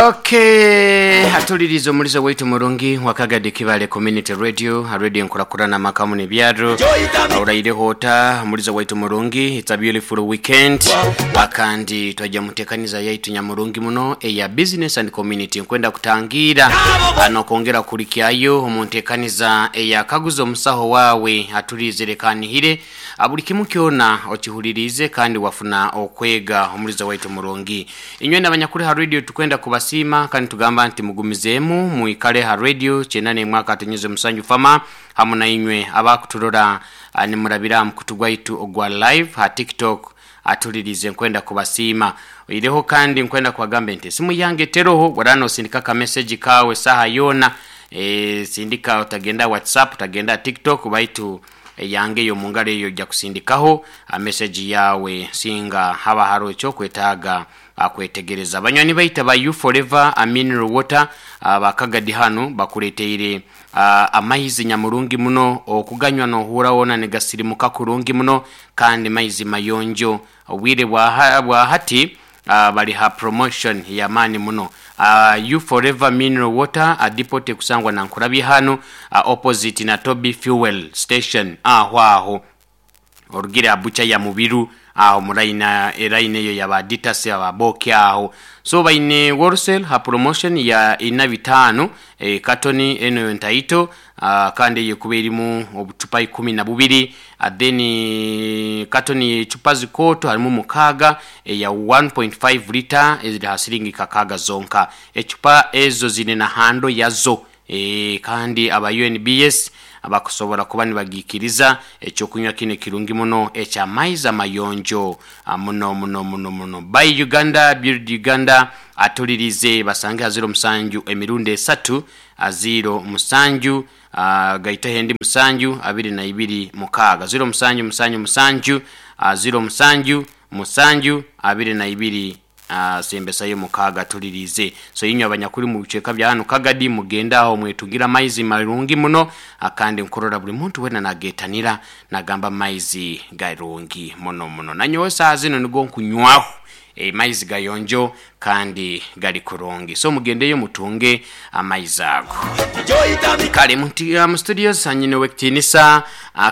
Okay, atuliriza omulizo waitu murungi wakagadi Kibale Community Radio, radio enkurakurana makamu nebyaro. Auraireho ota omulizo waitu murungi, it's a beautiful weekend. Akandi twajja mutekaniza yaitu nyamurungi muno eya business and community nkwenda kutangira anokongera kulikyayo omuntekaniza eya kaguzo omusaho wawe atulize kanihire buli kimu kyona okihulirize kandi wafuna okwega omulizo waitu murungi. Inywe n'abanyakuri ha radio tukwenda kubasiima kandi tugamba nti mugumizeemu mwikale ha radio 98 mwaka tunyuze musanju fama hamu na inywe abakuturora nimurabira mukutu gwaitu ogwa live ha TikTok atulirize nkwenda kubasiima. Oireho kandi nkwenda kubagamba nti esimu yange teroho warano osindika ka message kawe saha yona, sindika utagenda WhatsApp utagenda TikTok baitu yange yo mungalo eyo ojja kusindikaho a message yawe singa haba haro ekyo kwetaaga kwetegereza. Banywani baita ba You Forever a mineral water bakagadi hano bakuleteire amaizi nyamurungi muno okuganywa nohura wona negasirimuka kurungi muno kandi maizi mayonjo. Obwire bwa hati bali ha promotion ya mani muno. You Forever mineral water depot kusangwa na nkurabye hano opposite na Toby Fuel Station aho aho orugira abucha ya mubiru aho muraina eraine eyo yabaditasi ababoke aho. So baine wholesale ha promotion ya ina bitano katoni eno ntaito kandi yekuba erimu obucupa 12, then katoni chupa zikoto harimu mukaga ya 1.5 liter eziri ha siringi kakaga zonka. Echupa ezo zine na hando yazo, kandi aba UNBS abakusobola kuba nibagikiriza ekyokunywa kino kirungi muno ekyamaizi amayonjo muno muno muno muno. By Uganda Build Uganda atulirize basange aziro musanju emirundi 3 aziro musanju gaita hendi musanju 22 mukaga 0 musanju musanju musanju 0 musanju musanju 22 sembesayo mukaga tulirize. So inywe abanyakuri mu biceka bya hano Kagadi mugenda aho mwetugira maizi marungi muno akandi nkorora buli muntu wena nagetanira nagamba maizi garungi muno muno. Nanyowe saa zino nigo nkunywaho maizi gayonjo kandi gali kurungi. So mugendeyo mutunge amaizi ago. Kale mu studios hanyine wekitinisa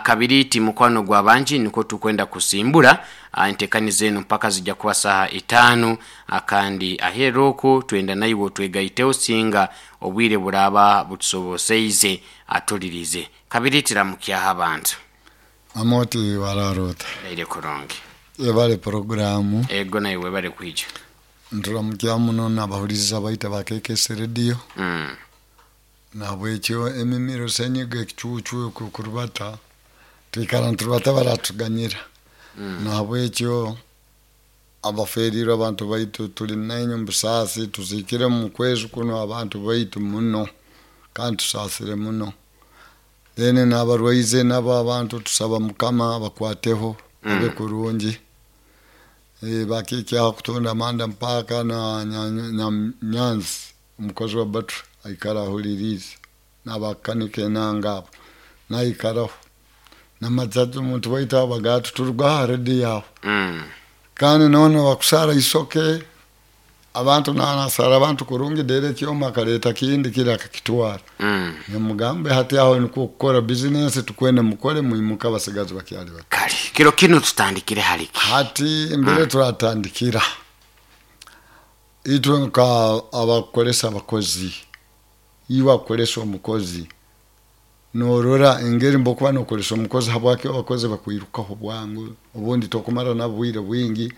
kabiriti mukwano gwa banji niko tukwenda kusimbura entekani zenu mpaka zijja kuba saha 5 akandi aheroko twenda naiwo twegaiteo singa obwire buraba butusoboseize atulirize. Kabiriti ramukyaha abantu. Amoti wararota. Ile kurungi. Ebale programu. Ego naiwe bale kwija. Nturamukya muno n'abahuliriza baita bakekese radio. Nabwekyo emimiro senyiga ekicucu kurubata twikara nturubata baratuganyira. Nabwekyo abaferirwe abantu baitu tuli nainyo mbusasi tuzikire mu kwezi kuno abantu baitu muno kandi tusasire muno. Then n'abarwaize nabo abantu tusaba Mukama bakwateho babe kurungi. Bakikya kutonda manda mpaka na nyanzi umukozi wa batu aikara ahulirize n'abakanike nangabo naikaraho namazazi omuntu waitu abagatu turuga redi yaho. Kandi none bakusara isoke abantu nanasara abantu kurungi dere kyoma kaleta kindi kila akakitwara. Nemugambe hati aho niko kukora business tukwene mukore muimuka basigazi bakyali bato. Kale kiro kino tutandikire haliki hati mbere turatandikira itwe nka abakolesa abakozi iwa akolesa omukozi norora engeri mbokuba nokolesa omukozi habwaki abakozi bakwirukaho bwangu obundi tokumara nabo bwire bwingi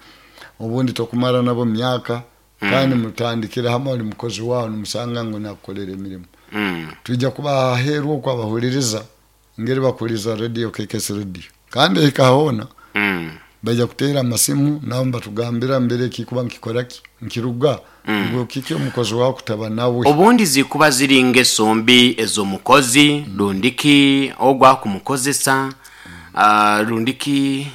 obundi tokumara nabo myaka. Kandi mutandikira hamwe oli mukozi wawe nimusanga ngo nakukolera emirimu. Tujja kuba aheeru okwo abahuliriza engeri bakuhuliriza radio KKS radio kandi ekahona bajja kuteera amasimu nabo batugambira mbere kikuba nkikoraki nkiruga ngo kiki omukozi wawe kutaba nawe. Obundi zikuba ziri ngeso mbi ez'omukozi rundiki ogwa kumukozesa rundiki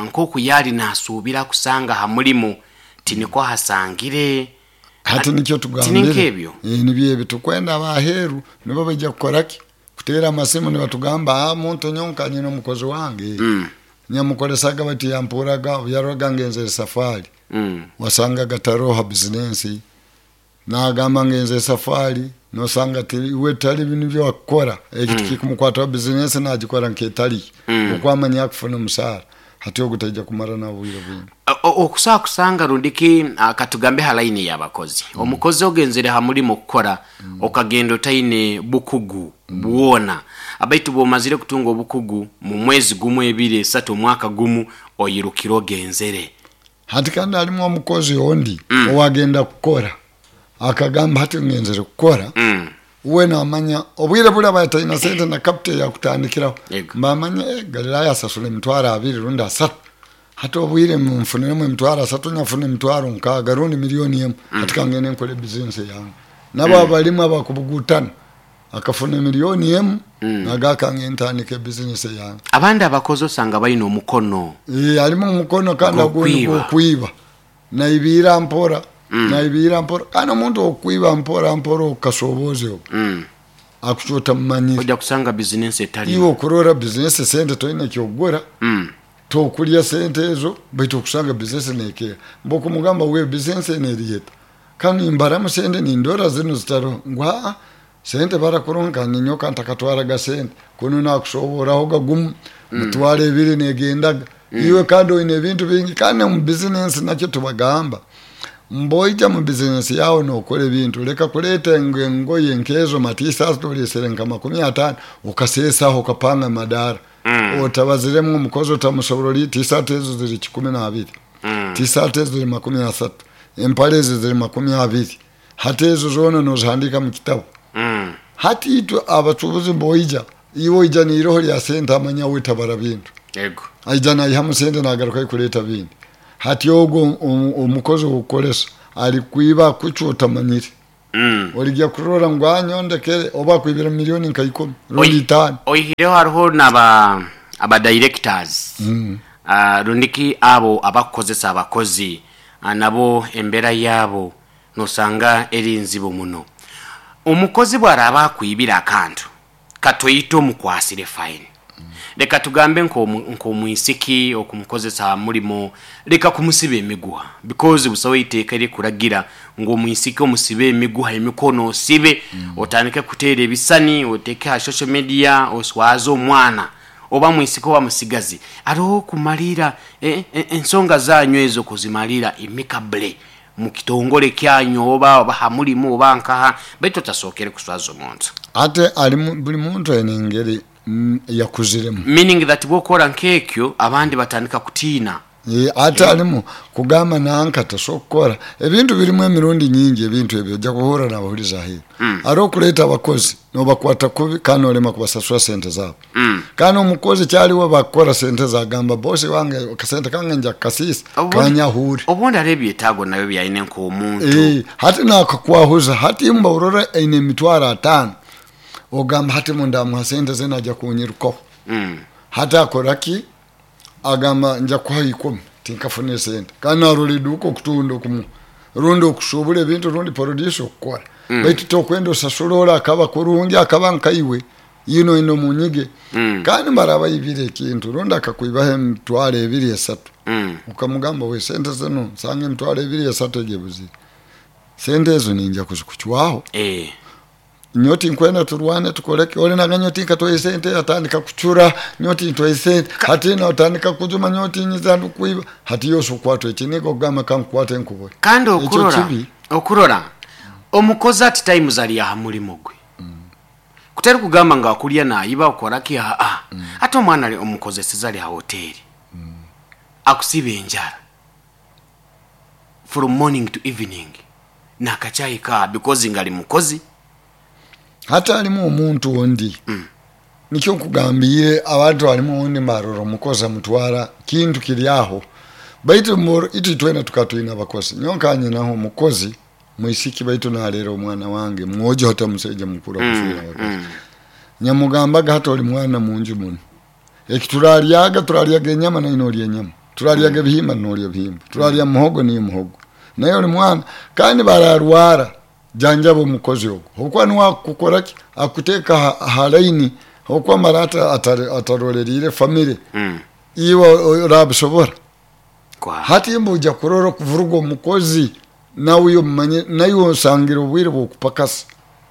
nkoku yali nasuubira kusanga ha mulimu tiniko hasangire hati nikyo tugambire tinikebyo nibyo ebyo tukwenda abaheru nibo bajja kukoraki kuteera amasimu nibatugamba muntu nyonkanye n'omukozi wange. Nyamukolesaga bati yampuraga yaroga ngenzere safari. Wasangaga taroho ha bizinensi, nagamba ngenze safari, nosanga iwe tali bintu byakukora eki tikikumukwataho, bizinensi nagikora nketali okwamanya akufuna omusaara, hati ogu taija kumara nawe obwire bwingi. Okusobola kusanga rundiki, katugambe ha layini y'abakozi, omukozi ogenzere ha mulimu kukora, okagenda otaine bukugu bwona, baitu bwomazire kutunga obukugu mu mwezi gumu, ebiri, esatu, omwaka gumu, oyirukire ogenzere. Hati kandi halimu omukozi ondi owagenda kukora akagamba hati ngenzere kukora, we namanya obwire buli aba ataina sente na capital yakutandikiraho. Mbamanya Galilaya asasura 20,000 rundi 30, hati obwire nfuniremu 30,000, nyafuna 60,000 rundi 1,000,000, hati kangende nkore bizinesi yange. Nabo abalimu abakubugutana akafuna 1,000,000, naga kangende ntandike bizinesi yange. Abandi abakozi osanga balina omukono Alimu omukono kandi agundi gw'okwiba. Gwokwiba naibira mpora, naibira mpora, kandi omuntu okwiba mpora mpora okasobozi obwo akucota mumanyire. Ojja kusanga bizinesi etali Iwe okurora bizinesi sente toine kyokugura, tokulya sente ezo, baitu okusanga bizinesi nekeera. Mbokumugamba we bizinesi eno eriyeta kandi nimbaramu sente nindora zino zitaroho, ngu aa sente barakurungi kandi ninyoka ntakatwaraga sente kunu, nakusoboraho gagumu 20,000 negendaga iwe, kandi oine ebintu bingi. Kandi omu bizinesi nakyo tubagamba, mboija mu bizinesi yawe nokora ebintu, leka kuleeta engoye nkezo matisasi olesere nka 50 okasesaho okapanga amadara otabaziremu omukozi, otamusoborora ori tisati ezo ziri 12, tisati ezo ziri 30, empale ezi ziri 20, hati ezo zoona nozihandika mu kitabu. Hati itwe abacubuzi mboija, iwe oija niiroho lya sente, amanya we tabara bintu, aija naihamu sente nagaruka kuleeta bindi. Hati ogwo omukozi owokukolesa ali kwiba kucwa otamanyire. Olijya kurora ngu anyondekere oba akwibire miliyoni nka 10 rundi 5. Oihireho hariho naba aba directors, rundiki abo abakukozesa abakozi, nabo embeera yaabo nosanga eri nzibu muno. Omukozi bwaraba akwibire akantu katoyite omukwasire fine, leka tugambe nk'omwisiki okumukozesa ha mulimo, leka kumusiba emiguha, because busaho iteeka erikuragira ngu omwisiki omusibe emiguha emikono, osibe, otandike kuteera ebisani oteeke ha social media oswaze omwana oba mwisiki oba musigazi. Hariho okumalira ensonga zanyu ezo kuzimalira amicably mu kitongole kyanyu oba ha mulimu oba nkaha, baitu otasookere kuswaza omuntu. Ate alimu buli muntu aine engeri yakuziremu. Meaning that bwokora nk'ekyo abandi batandika kutiina. Ate alimu kugamba nanka tasobola kukora ebintu birimu emirundi nyingi, ebintu ebyo ojja kuhura nabahuliza aheeru. Hariho okuleeta abakozi nobakwata kubi kandi nolema kubasasura sente zaabo. Kandi omukozi kyaliwe bakukora sente ze agamba bosi wange akasente kange nja kukasiisa kanyahure. Obundi hariho ebyetaago nabyo byaine nk'omuntu. Hati nakakwahuza, hati mba orora aine 50,000, ogamba hati mundamuha sente ze najja kunyirukaho. Hati akora ki? Agamba nja kuha 10 tinkafune sente, kandi narora eduuka okutunda okumuha rundi okushubura ebintu rundi produce okukora, baitu tokwenda osasura ora akaba kurungi akaba nkaiwe yino ino munyige. Kandi mbaraba ibire ekintu rundi akakwibaho 20,000 3, ukamugamba we sente zino nsanga 20,000 3 egebuzire, sente ezo ninja kuzikucwaho. Nyoti nkwenda turwane tukoreke ori naga nyoti nkatwaye sente, atandika kucura nyoti ntwaye sente, hati notandika kujuma nyoti nyiza ndukwiba, hati yose okwatwa ekiniga okugamba kankukwate nkubure. Kandi Ekyo okurora kibi. Okurora omukozi ati times ali aha mulimo gwe, kutari kugamba ngu akulya nayiba okoraki, aa ate omwana ali omukozeseza ali ha hoteri, akusiba enjara from morning to evening nakachai ka because ngali mukozi. Hati halimu omuntu ondi, nikyo nkugambiire abantu, halimu ondi mbarora omukozi amutwara kintu kiri aho, baitu itwe twena tukaba twine abakozi. Nyowe nkanyinaho omukozi mwisiki, baitu nalera omwana wange mwojo, hati omusaija mukuru akuswera abakozi. Nyamugambaga hati oli mwana munju muno, eki turaryaga, turaryaga enyama naye nolya enyama, turaryaga ebihimba nolya ebihimba, turarya muhogo niyo muhogo, naye oli mwana. Kandi bararwara, janjaba omukozi ogwo, habwokuba niwe akukora ki, akuteeka ha laini, habwokuba mara ataroleriire famire, iwe orabisobora. Hati mbuja kurora kuvuruga omukozi nawe omumanye naye osangire obwire bwokupakasa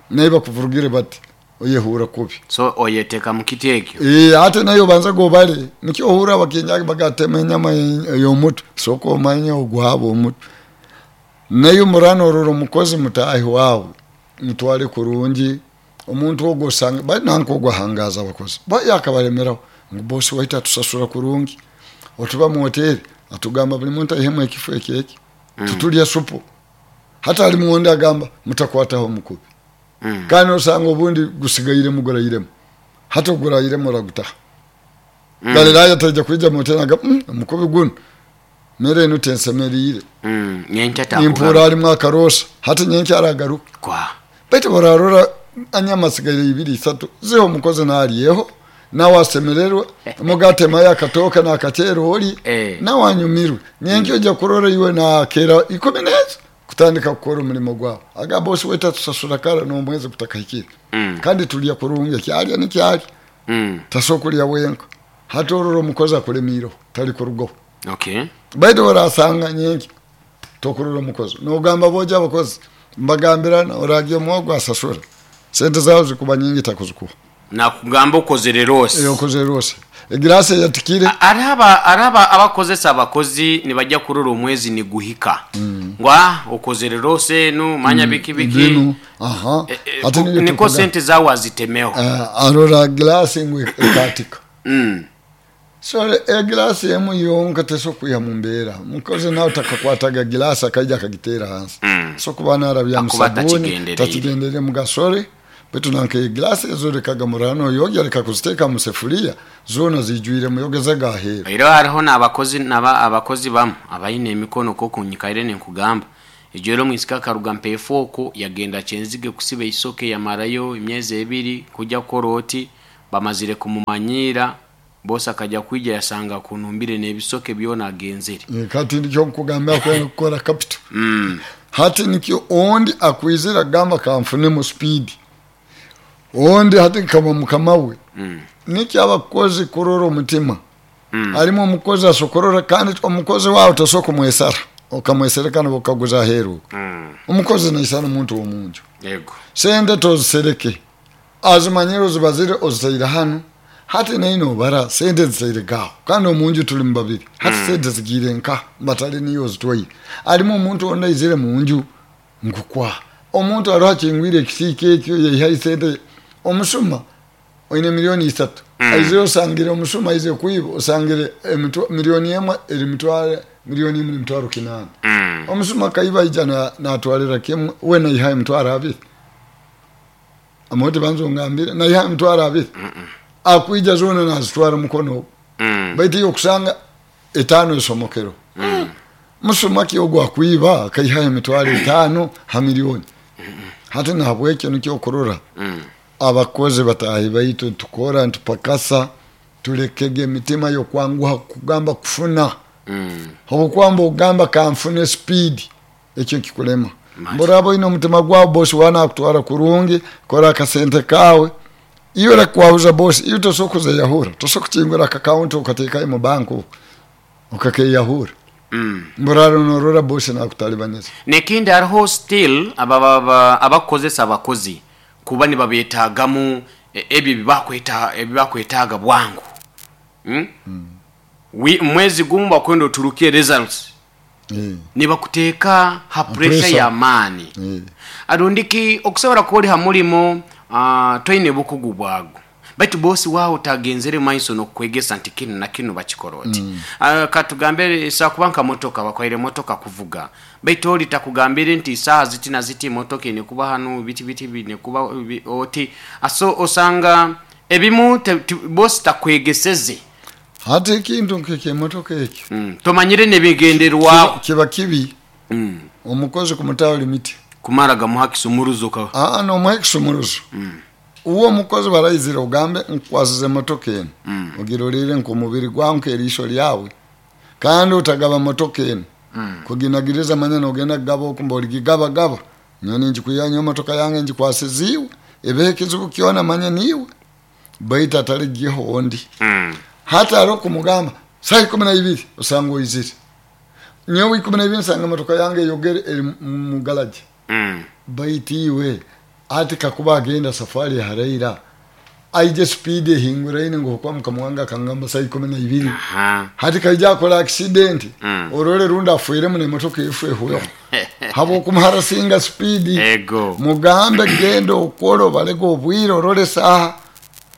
naye bakuvurugire bati oyehura kubi. So oyeteka mukiti ekyo. Ate naye obanza gobale nikyo ohura abakinjagi bagatema enyama ey'omutwe, soka omanye ogwabo omutwe. Naye murano orora omukozi mutahi wawe mutwale kurungi omuntu ogwo osanga bali nanka ogwo ahangaza abakozi baye akabalemeraho ngu bosi waitu atusasura kurungi, otuba mu hoteri atugamba buli muntu aihemu ekifo eki eki, tutulya supu. Hata ali muwonde agamba mutakwataho omukubi. Kandi osanga obundi gusigairemu gurairemu, hata ogurairemu oragutaha. Galilaya taija kwija mu hoteri agamba omukubi gunu mere enu tensemeriire. Nimpura alimu akarosa, hati nyenkya aragaruka. Baitu borarora anyama asigaire 2 3 ziho omukozi nalyeho nawe asemererwe mugatemayo akatoka nakacere oli nawe anyumirwe. Nyenkya ojja kurora iwe nakera 10 neza kutandika kukora omulimo gwawe. Aga bosi wetu atusasura kara n'omwezi gutakahikire. Kandi tulya kurungi kyalya nikyalya. Tasokulya wenka. Hati orora omukozi akulemiireho tali kurugaho. Baitu orasanga nyenkya tokurora omukozi nogamba boja abakozi mbagambirana oragiye omwogo asasura sente zawe zikuba nyingi takuzikuha. Nakugamba okozere rose. Okozere rose. Egirasi yatikire. Araba abakozesa abakozi nibajya kurora omwezi niguhika. Ngwa okozere rose nu manya biki biki. Ate niko sente zawe azitemeho. Arora glasi ngwe ekatika. So egirasi emu yonka teso kuya mumbera. Mukozi nawe takakwataga gilasi akaija akagitera hansi. So kuba narabya musabuni takigendere mugasore. Betu nanke glasi ezo rekaga murano yoga reka kuziteka mu sefuria zona zijwire muyogeza gahera. Ero hariho nabakozi naba abakozi bamu abayine emikono ko kunyikaire ne nkugamba. Ejero mwisika karuga mpefoko yagenda chenzige kusiba isoke yamarayo imyezi 2 kujya koroti bamazire kumumanyira bosa akajya kwija yasanga kunumbire nebisoke byona agenzere. Kati ndicyo nkugamba ko gukora capital. Hati nikyo ondi akwizira gamba kamfune mu speed. Ondi hati kama mukamawe. Nikyo abakozi kurora omutima. Arimo omukozi asokorora kandi omukozi wawe tosoko mwesara. Okamweserekana bokaguza heru. Omukozi naisana omuntu omunju. Yego. Sente tozisereke. Azimanyiro zibazire ozitaira hano. Hati naino bara sente zitaire gaho. Kandi omunju tuli mubabiri. Hati sente zigire nka batali niyo zitwaye. Arimo omuntu onda izire munju ngukwa. Omuntu aroha chingwire kisike ekyo yehaye sente omusuma oine milioni 3. Aize osangire omusuma aize kuiba osangire milioni 1 eri mitware milioni 1 mitwaro 8. Omusuma kaiba ija na atwalira kimwe we na ihaye mitwaro 2. Amote banzo ngambire na ihaye mitwaro 2. Akuija zona na zitwara mukono. Baiti yokusanga 5 esomokero. Musuma kiyogwa kuiba kaihaye mitwaro 5 ha milioni. Hati nahabwekyo nikyo kurora. Abakozi batahi baitu tukora ntupakasa tulekege emitima yo kwanguha kugamba kufuna. Hobukwamba ogamba kamfune speed ekyo kikulema. Mborabo ino mutima gwawo bosi wana kutwara kurungi kora akasente kawe. Iyo rakwahuza bosi iyo tosokuza yahura tosokuchingura account ukateka mu banku ukakeyahura. Mboraro norora bosi na kutalibaneza. Nekindi hariho still abakozesa abakozi kuba nibabetagamu ebyo bibakwetaga bwangu. Mwezi gumu bakwenda oturukie results. Nibakuteka ha pressure ya mani. Arundiki okusobora koli ha mulimo toine bukugu bwago. Baitu bosi wao tagenzere maiso no kwegesa nti kinu na kinu bakikoroti. Katugambere sa kubanka motoka bakwaire motoka kuvuga. Baitu oli takugambire nti saa ziti na ziti motoka ine kuba hanu biti biti bine kuba oti aso osanga ebimu bosi takwegeseze. Hati ekintu nkeke motoka ekyo. Tomanyire nebigenderwa kiba kibi. Omukozi kumutawa limiti. Kumara gamuha kisumuruzo ka. No muha kisumuruzo. Uwo mukozi barayizira ugambe nkwasize motoka eno. Ogirorere nko mubiri gwangu erisho lyawe. Kandi utagaba motoka eno. Kuginagiriza manya ogenda gaba okumba oligigaba gaba. Nyoni njikuyanya motoka yange njikwasiziwe. Ebehe kizibu kiona manya niwe. Baita ataligiho ondi. Hata aro kumugamba saa 12 usanga oyizire. Nyowe 12 nsanga emotoka yange eyogere eri mu garage. Baitu iwe ati kakuba agenda safari haraira aije speed ehinguraine ngu okuba mukama wange akangamba saa 12. Hati kaija akora accident, orole rundi afweremu n'emotoka efu ehweho habwokumuharasinga speed. Ego. Mugambe genda okole obalege obwire, orole saaha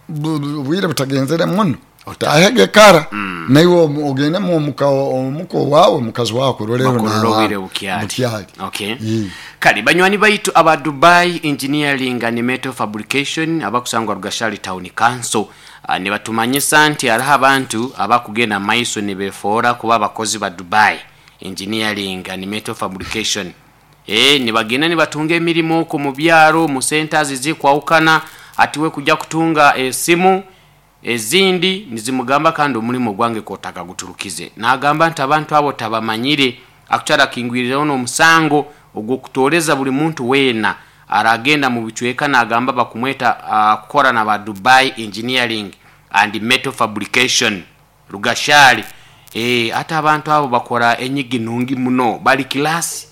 obwire butagenzere muno, otahege kara, naiwe ogendemu omuka omuka owawe mukazi wawe akuroleho Bakurora n'abaana obwire bukyali. Bukyali. Okay. Kale banywani baitu aba Dubai Engineering and Metal Fabrication abakusangwa Rugashari Town Council, nibatumanyisa nti hariho abantu abakugenda maiso nibefoora kuba abakozi ba Dubai Engineering and Metal Fabrication. Nibagenda nibatunga emirimo okwo mu byaro mu centers ezikwahukana, ati we kujya kutunga esimu ezindi nizimugamba kandi omulimo gwange kotakaguturukize. Nagamba nti abantu abo tabamanyire, akukyara akingwirireho n'omusango ogw'okutooreza buli muntu weena aragenda mu bicweka nagamba bakumweta kukora na ba Dubai Engineering and Metal Fabrication Rugashari. Ate abantu abo bakora enyigi nungi muno, bali kilasi.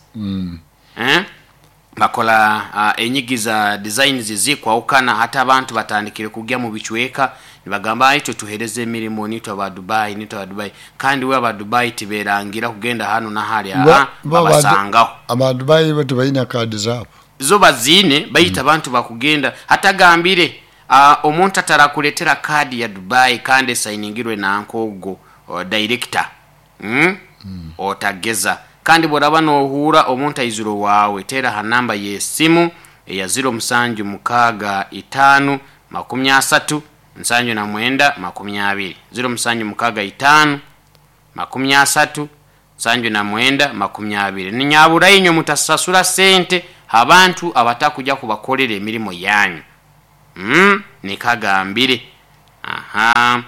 Bakola enyigi za designs zikwahukana. Hati abantu batandikire kugya mu bicweka nibagamba itwe tuhereza emirimo nitwe aba Dubai, nitwe aba Dubai, kandi we aba Dubai tiberangira kugenda hano na hali, babasangaho. Aba Dubai bo tibaine kaadi zaabo? Zo baziine, baitu abantu bakugenda hatagambire omuntu atarakuletera kaadi ya Dubai kandi esainingirwe nankogo director, Otageza. Kandi bworaba nohuura omuntu aizire owaawe, teera ha namba y'esimu eya 0765 30 79 20. 0765 30 79 20. Ninyabura inywe mutasasura sente abantu abatakujya kubakorera emirimo yanyu. Nikagambire. Aha.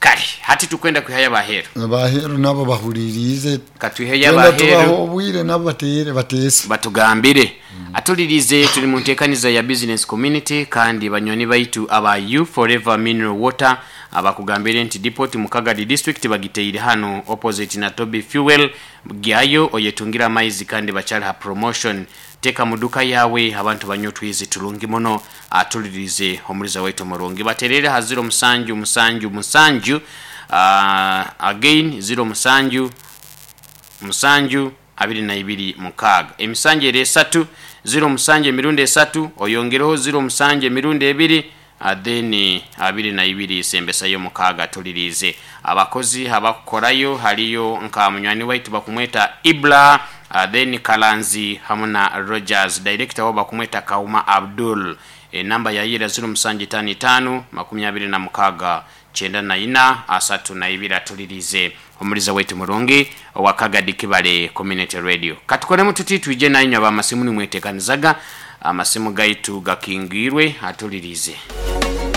Kale hati tukwenda kwihayo abaheru. Abaheru nabo bahuririze. Katwiheyo Twenda tubaho abaheru. obwire nabo batere bateese. Batugambire. Atulirize, tuli mu nteekaniza ya business community, kandi banywani baitu aba You Forever Mineral Water abakugambire nti depot mu Kagadi district bagiteire hano opposite na Toby Fuel, gyayo oyetungira amaizi kandi bakyali ha promotion. Teeka mu duka yawe abantu banywe otwizi tulungi muno. Atulirize omuliza waitu omurungi, baterere ha 0 7 7 7, again 0 7 7 22 6, emisanju eri esatu, 0 7 emirundi esatu, oyongereho 0 7 emirundi ebiri, then 22 sembesayo 6. Tulirize abakozi abakukorayo, haliyo nka munywani waitu bakumweta Ibla, then Kalanzi hamu na Rogers, director wabo bakumweta Kauma Abdul. Enamba yayira 0 7 5 5 26 94 32. Atulirize omuliza waitu murungi owa Kagadi Kibale Community Radio. Katukoremu tuti twije nainywe abamasimu nimwetekanizaga amasimu gaitu gakingwirwe. Atulirize.